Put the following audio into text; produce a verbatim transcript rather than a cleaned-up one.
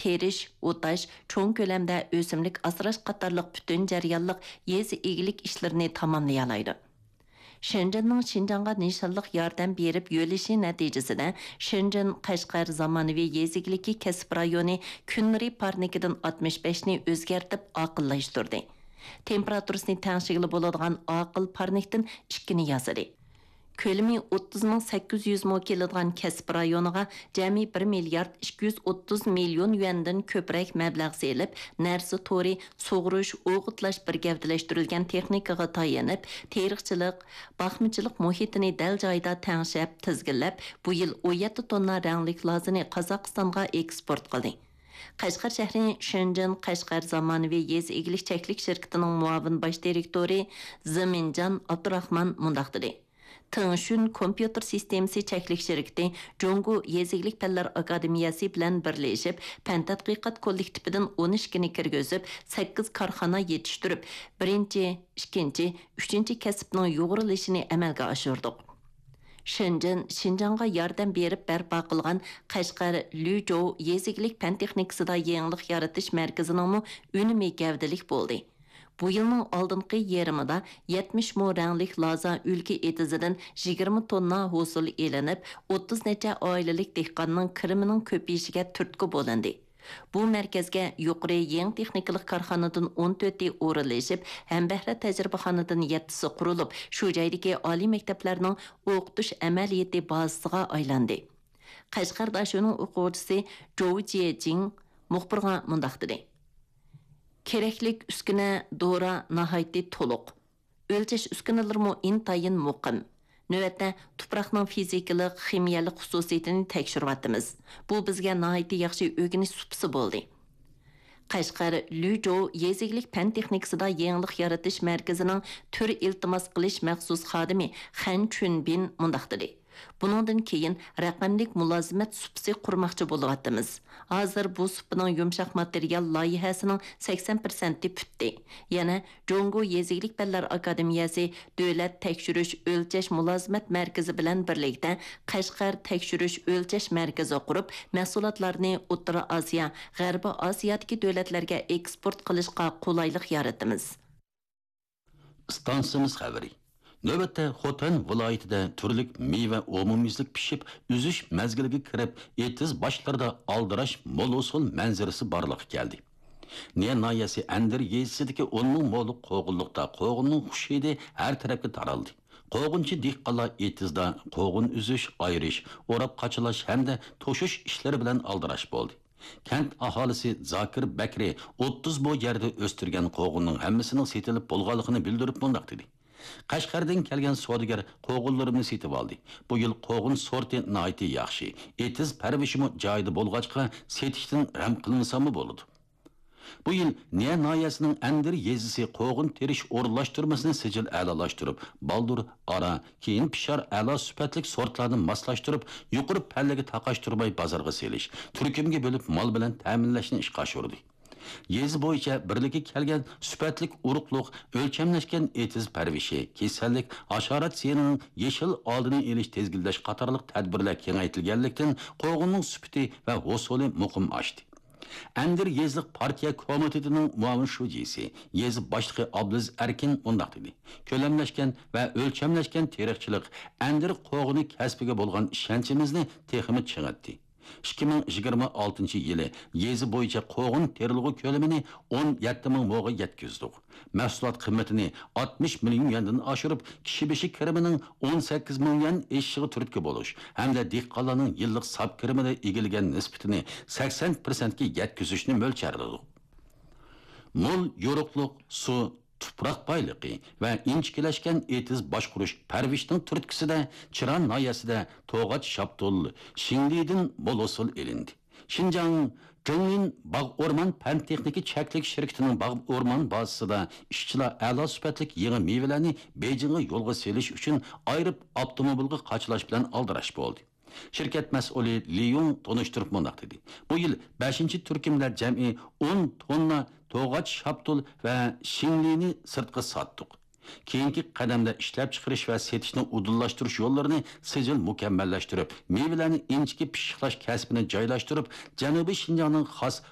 تېرىش، ئوتاش، چوڭ كۆلەمدە ئۆسۈملۈك ئاسراش قاتارلىق پۈتۈن جەريانلىق يېزا ئىگىلىك ئىشلىرىنى تاماملىيالايدۇ. شېنجېننىڭ شىنجاڭغا نىشانلىق ياردەم بېرىپ يۆلىشى نەتىجىسىدە، شېنجېن قەشقەر زامانىۋى يېزا ئىگىلىكى كەسىپ رايونى كۈن نۇرى پارنىكىدىن ئاتمىش بەشنى ئۆزگەرتىپ ئاقىللاشتۇردى. تېمپېراتۇرىسىنى تەڭشىگىلى بولىدىغان ئاقىل پارنىكتىن ئىككىنى ياسىدى. كۆلىمى ئوتتۇز مىڭ سەككىز يۈز مو كېلىدىغان كەسىپ رايونىغا جەمئىي بىر مىليارد ئىككى يۈز ئوتتۇز مىليون يۈەندىن كۆپرەك مەبلەغ سېلىپ، نەرسە تورى، سۇغۇرۇش، ئوغۇتلاش بىر گەۋدىلەشتۈرۈلگەن تېخنىكىغا تايىنىپ، تېرىقچىلىق، باقمىچىلىق مۇھىتىنى دەل جايىدا تەڭشەپ، تىزگىنلەپ، بۇ يىل ئون يەتتە توننا رەڭلىك لازىنى قازاقىستانغا ئېكسپورت قىلدى. قەشقەر شەھىرى شېنجېن قەشقەر زامانىۋى يېزا ئىگىلىك چەكلىك شىركىتىنىڭ مۇئاۋىن باش دىرېكتورى زېمىنجان ئابدۇراخمان مۇنداق دېدى: تېڭشۈن كومپيۇتېر سىستېمىسى چەكلىك شىركىتى جۇڭگو يېزا ئىگىلىك پەنلەر ئاكادېمىيەسى بىلەن بىرلىشىپ، پەن تەتقىقات كوللېكتىپىدىن ئون ئىككىنى كىرگۈزۈپ، سەككىز كارخانا يېتىشتۈرۈپ، بىرىنچى، ئىككىنچى، ئۈچىنچى كەسىپنىڭ يۇغۇرۇلۇشىنى ئەمەلگە ئاشۇردۇق. شېنجېن شىنجاڭغا ياردەم بېرىپ بەرپا قىلغان قەشقەر لۈجوۋ يېزا ئىگىلىك پەن تېخنىكىسىدا يېڭىلىق يارىتىش مەركىزىنىڭمۇ ئۈنۈمى گەۋدىلىك بولدى. بۇ يىلنىڭ ئالدىنقى يېرىمىدا يەتمىش مو رەڭلىك لازا ئۈلكە ئېتىزىدىن يىگىرمە توننا ھوسۇل ئېلىنىپ، ئوتتۇز نەچچە ئائىلىلىك دېھقاننىڭ كىرىمىنىڭ كۆپىيىشىگە تۈرتكە بولۇندى. بۇ مەركەزگە يۇقىرى يېڭى تېخنىكىلىق كارخانىدىن ئون تۆتى ئورۇنلىشىپ، ھەمبەھرە تەجرىبىخانىدىن يەتتىسى قۇرۇلۇپ، شۇ جايدىكى ئالىي مەكتەپلەرنىڭ ئوقۇتۇش ئەمەلىيىتى بازىسىغا ئايلاندى. قەشقەر داشۆنىڭ ئوقۇغۇچىسى جوۋ جيېجىڭ مۇخبىرغا مۇنداق دېدى: كېرەكلىك ئۈسكۈنە، دورا ناھايىتى تولۇق. ئۆلچەش ئۈسكۈنىلىرىمۇ ئىنتايىن مۇقىم. نۆۋەتتە تۇپراقنىڭ فىزىكىلىق، خىمىيەلىك خۇسۇسىيىتىنى تەكشۈرۈۋاتىمىز. بۇ بىزگە ناھايىتى ياخشى ئۆگىنىش سۇپىسى بولدى. قەشقەر لۈجوۋ يېزا ئىگىلىك پەن تېخنىكىسىدا يېڭىلىق يارىتىش مەركىزىنىڭ تۈر ئىلتىماس قىلىش مەخسۇس خادىمى خەن چۈنبىن مۇنداق دېدى: بۇنىڭدىن كېيىن رەقەملىك مۇلازىمەت سۇپىسى قۇرماقچى بولۇۋاتىمىز. ھازىر بۇ سۇپىنىڭ يۇمشاق ماتېرىيال لايىھەسىنىڭ سەكسەن پىرسەنتى پۈتتى. يەنە جۇڭگو يېزا ئىگىلىك پەنلەر ئاكادېمىيەسى دۆلەت تەكشۈرۈش ئۆلچەش مۇلازىمەت مەركىزى بىلەن بىرلىكتە قەشقەر تەكشۈرۈش ئۆلچەش مەركىزى قۇرۇپ، مەھسۇلاتلارنى ئوتتۇرا ئاسىيا، غەربىي ئاسىيادىكى دۆلەتلەرگە ئېكسپورت قىلىشقا قولايلىق يارىتىمىز. ئىستانسىمىز خەۋىرى. نۆۋەتتە خوتەن ۋىلايىتىدە تۈرلۈك مېۋە ئومۇميۈزلۈك پىشىپ، ئۈزۈش مەزگىلىگە كىرىپ، ئېتىز باشلىرىدا ئالدىراش مول ھوسۇل مەنزىرىسى بارلىققا كەلدى. نىيە ناھىيەسى ئەندىر يېزىسىدىكى ئون مىڭ مولۇق قوغۇنلۇقتا قوغۇننىڭ خۇش ھىدى ھەر تەرەپكە تارالدى. قوغۇنچى دېھقانلار ئېتىزدا قوغۇن ئۈزۈش، ئايرىش، ئوراپ قاچىلاش ھەمدە توشۇش ئىشلىرى بىلەن ئالدىراش بولدى. كەنت ئاھالىسى زاكىر بەكرى ئوتتۇز بو يەردە ئۆستۈرگەن قوغۇننىڭ ھەممىسىنىڭ سېتىلىپ بولغانلىقىنى بىلدۈرۈپ مۇنداق دېدى: قەشقەردىن كەلگەن سودىگەر قوغۇنلىرىمنى سېتىۋالدى. بۇ يىل قوغۇن سورتى ناھايىتى ياخشى، ئېتىز پەرۋىشىمۇ جايىدا بولغاچقا، سېتىشتىن غەم قىلمىساممۇ بولىدۇ. بۇ يىل نىيە ناھىيەسىنىڭ ئەندىر يېزىسى قوغۇن تېرىش ئورۇنلاشتۇرمىسىنى سىجىل ئەلالاشتۇرۇپ، بالدۇر، ئارا، كېيىن پىشار ئەلا سۈپەتلىك سورتلارنى ماسلاشتۇرۇپ، يۇقىرى پەللىگە تاقاشتۇرماي بازارغا سېلىش، تۈركۈمگە بۆلۈپ مال بىلەن تەمىنلەشنى ئىشقا ئاشۇردى. يېزا بويىچە بىرلىككە كەلگەن سۈپەتلىك ئۇرۇقلۇق، ئۆلچەملەشكەن ئېتىز پەرۋىشى، كېسەللىك، ھاشارات زىيىنىنىڭ يېشىل ئالدىنى ئېلىش، تىزگىنلەش قاتارلىق تەدبىرلەر كېڭەيتىلگەنلىكتىن، قوغۇننىڭ سۈپىتى ۋە ھوسۇلى مۇقىم ئاشتى. ئەندىر يېزىلىق پارتىيە كومىتېتىنىڭ مۇئاۋىن شۇجىسى، يېزا باشلىقى ئابلىز ئەركىن مۇنداق دېدى: كۆلەملەشكەن ۋە ئۆلچەملەشكەن تېرىقچىلىق ئەندىر قوغۇنى كەسپىگە بولغان ئىشەنچىمىزنى تېخىمۇ چىڭىتتى. ئىككى مىڭ يىگىرمە ئالتىنچى يىلى يېزا بويىچە قوغۇن تېرىلغۇ كۆلىمىنى ئون يەتتە مىڭ موغا يەتكۈزدۇق. مەھسۇلات قىممىتىنى ئاتمىش مىليون يۈەندىن ئاشۇرۇپ، كىشى بېشى كىرىمىنىڭ ئون سەككىز مىڭ يۈەن ئېشىشىغا تۈرتكە بولۇش ھەمدە دېھقانلارنىڭ يىللىق ساپ كىرىمىدە ئىگىلىگەن نىسبىتىنى سەكسەن پىرسەنتكە يەتكۈزۈشنى مۆلچەرلىدۇق. مول يورۇقلۇق، سۇ، تۇپراق بايلىقى ۋە ئىنچىكىلەشكەن ئېتىز باشقۇرۇش پەرۋىشىنىڭ تۈرتكىسىدە چىران ناھىيەسىدە توغاچ شاپتۇل، شىڭلىدىن مول ھوسۇل ئېلىندى. شىنجاڭ جېڭلىن باغ ئورمان پەن تېخنىكا چەكلىك شىركىتىنىڭ باغ ئورمان بازىسىدا ئىشچىلار ئەلا سۈپەتلىك يېڭى مېۋىلەرنى بېيجىڭغا يولغا سېلىش ئۈچۈن ئايرىپ ئاپتوموبىلغا قاچىلاش بىلەن ئالدىراش بولدى. شىركەت مەسئۇلى لى يۇڭ تونۇشتۇرۇپ مۇنداق دېدى: بۇ يىل بەشىنچى تۈركۈمدە جەمئىي ئون توننا توغاچ شاپتۇل ۋە شىڭلىنى سىرتقا ساتتۇق. كېيىنكى قەدەمدە ئىشلەپچىقىرىش ۋە سېتىشنى ئۇدۇللاشتۇرۇش يوللىرىنى سىجىل مۇكەممەللەشتۈرۈپ، مېۋىلەرنى ئىنچىكە پىششىقلاش كەسپىنى جايلاشتۇرۇپ، جەنۇبىي شىنجاڭنىڭ خاس